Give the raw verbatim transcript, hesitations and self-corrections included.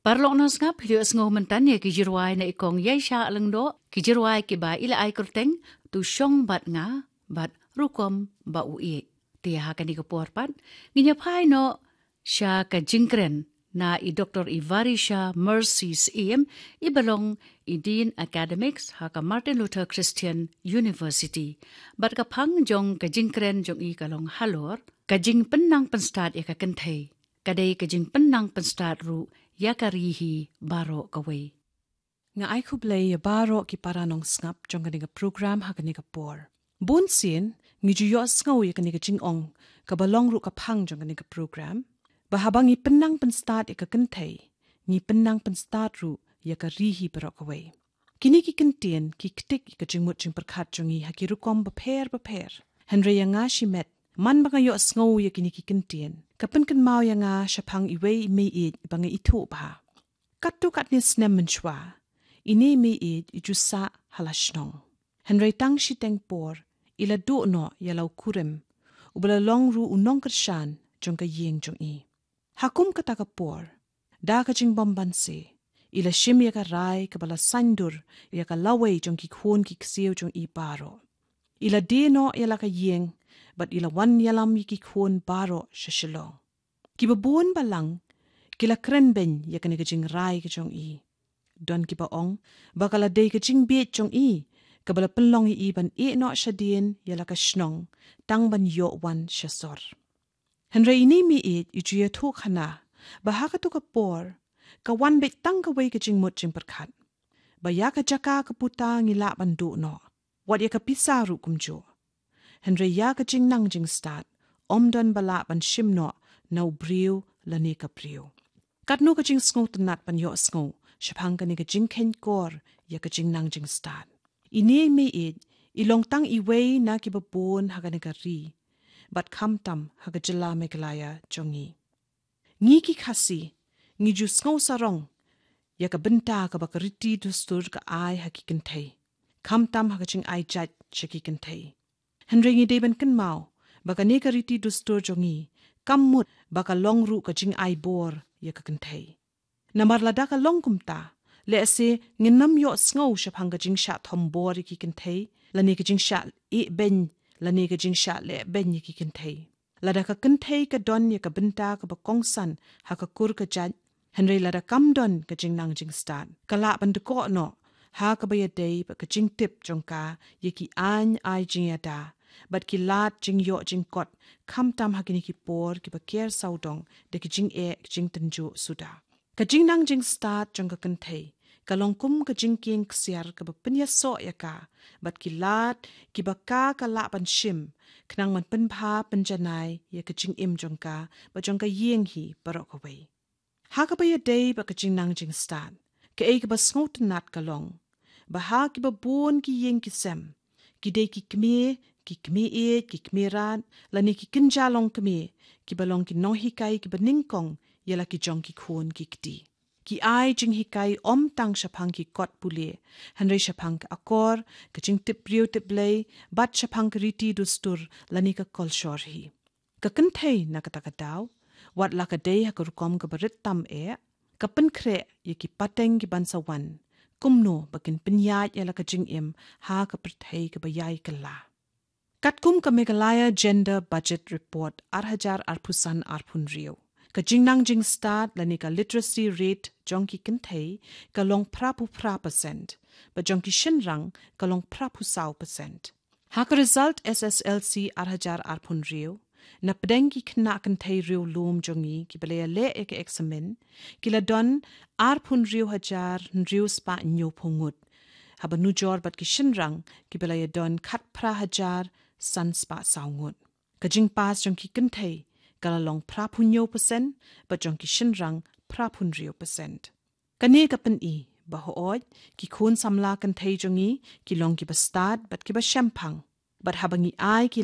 Paralok nongsngap, phi ïohsngew mynta ïa ki jingrwai na i kong Ïaishah Lyngdoh, ki jingrwai kiba i la ai kyrteng, To Shong Bad Nga, bad Rukom Ba U Ïeit. Te ha kane ka por pat, ngin ïa phai noh sha ka jingkren na i Doktor Evarisha Mercy Syiem, iba long i Dean Academics ha ka Martin Luther Christian University. Bad ka phang jong ka jingkren jong i ka long halor ka jingpynnang pynstad ïa ka kynthei. Ka dei ka jingpynnang pynstad ruh ïa ka ri hi baroh kawei. Nga ai khublei ïa baroh ki para nongsngap jong kane ka program ha kane ka por. Bun sien, ngi ju ïohsngew ïa kane ka jingong kaba long ruh ka phang jong kane ka program, ba haba ngi pynnang pynstad ïa ka kynthei, ngi pynnang pynstad ruh ïa ka ri hi baroh kawei. Kine ki kyntien ki ktik ïa ka jingmut jingpyrkhat jong ngi ha ki rukom bapher bapher. Hynrei ïa nga shimet, man ba nga ïohsngew ïa kine ki kyntien, ka pynkynmaw ïa nga shaphang iwei i meiieit ba nga ithuh bha. Katto katne snem mynshuwa, ine i meiieit i ju sah ha la shnong. Hynrei tang shiteng por, i la duh noh ïa la u kurim, uba la long ruh u nongkyrshan jong ka ïing jong i. Ha kum kata ka por, da ka jingbymbanse, i la shim ïa ka rai kaba la saiñdur ïa ka lawei jong ki khun ki ksiew jong i baroh. I la die noh ïa la ka ïing, bad i la wan ïalam ïa ki khun baroh sha Shillong. Kiba bun balang ki la kren beiñ ïa kane ka jingrai ka jong i. Don kiba ong ba ka la dei ka jingbieit jong i kaba la pynlong ïa i ban ïeh noh shadien ïa la ka shnong tang ban ïoh wan sha sor. Hynrei ine i meiieit i ju ïathuh khana ba ha kato ka por ka wan beit tang kawei ka jingmut jingpyrkhat, ba ïa ka jaka ka puta ngi lah ban duh noh, wat ïa ka pisa ruh kumjuh. Hynrei ïa ka jingnang jingstad, ym don ba lah ban shim noh na u briew lane ka briew. Katno ka jingsngewtynnat ban ïohsngew shaphang kane ka jingkheiñ kor ïa ka jingnang jingstad. Ine i meiieit i long tang iwei na kiba bun ha kane ka ri, bad khamtam ha ka jylla Meghalaya jong ngi. Ngi ki Khasi, ngi ju sngew sarong ïa ka bynta kaba ka riti dustur ka ai ha ki kynthei, khamtam ha ka jingai jait sha ki kynthei. Hynrei ngi dei ban kynmaw ba kane ka riti dustur jong ngi kam mut ba ka long ruh ka jingai bor ïa ka kynthei. Namar lada ka long kumta, lehse ngin ym ïohsngew shaphang ka jingshah thombor ïa ki kynthei, lane ka jingshah ïeh beiñ, lane ka jingshah leh beiñ ïa ki kynthei. Lada ka kynthei ka don ïa ka bynta kaba kongsan ha ka kur ka jait, hynrei lada kam don ka jingnang jingstad, ka lah ban dkoh noh ha kaba ïadei bad ka jingtip jong ka ïa ki aiñ ai jingïada bad ki lad jingïoh jingkot, khamtam ha kine ki por kiba ker sawdong da ki jingeh jingtynjuh suda. Ka jingnang jingstad jong ka kynthei ka long kum ka jingkieng ksiar kaba pynïasoh ïa ka bad ki lad kiba ka ka lah ban shim, khnang ban pynbha pynjanai ïa ka jingim jong ka bad jong ka ïing hi baroh kawei. Ha kaba ïadei bad ka jingnang jingstad, kaei kaba sngewtynnat ka long ba ha kiba bun ki ïing ki sem, ki dei ki kmie, ki kmie ïeit, ki kmie rat, lane ki kynja longkmie, kiba long ki nonghikai kiba nyngkong ïa la ki jong ki khun ki kti. Ki ai jinghikai ym tang shaphang ki kot pule, hynrei shaphang ka akor, ka jingtip briew tip Blei, bad shaphang ka riti dustur lane ka kolshor hi. Ka kynthei na kata ka daw, wat la ka dei ha ka rukom kaba rit tam eh, ka pynkhreh ïa ki pateng ki ban sa wan, kumno ba kin pynïaid ïa la ka jingim ha ka pyrthei kaba ïai kylla. Katkum ka Meghalaya Gender Budget Report ar hajar arphew san arphew hynriew, ka jingnang jingstad lane ka literacy rate jong ki kynthei ka long phraphew phra percent, bad jong ki shynrang ka long phraphew saw percent. Ha ka result S S L C ar hajar arphew hynriew, na pdeng ki khynnah kynthei riewlum jong ngi kiba la ïaleh ïa ka eksamin, ki la don arphew hynriew hajar hynriew spah hynñiewphew ngut, haba nujor bad ki shynrang kiba la ïadon khatphra hajar san spah saw ngut. Ka jingpass jong ki kynthei ka la long phraphew hynñiew percent, bad jong ki shynrang phraphew hynriew percent. Kane ka pyni ba hooid ki khun samla kynthei jong ngi ki long kiba stad bad kiba shemphang. Bad haba ngi ai ki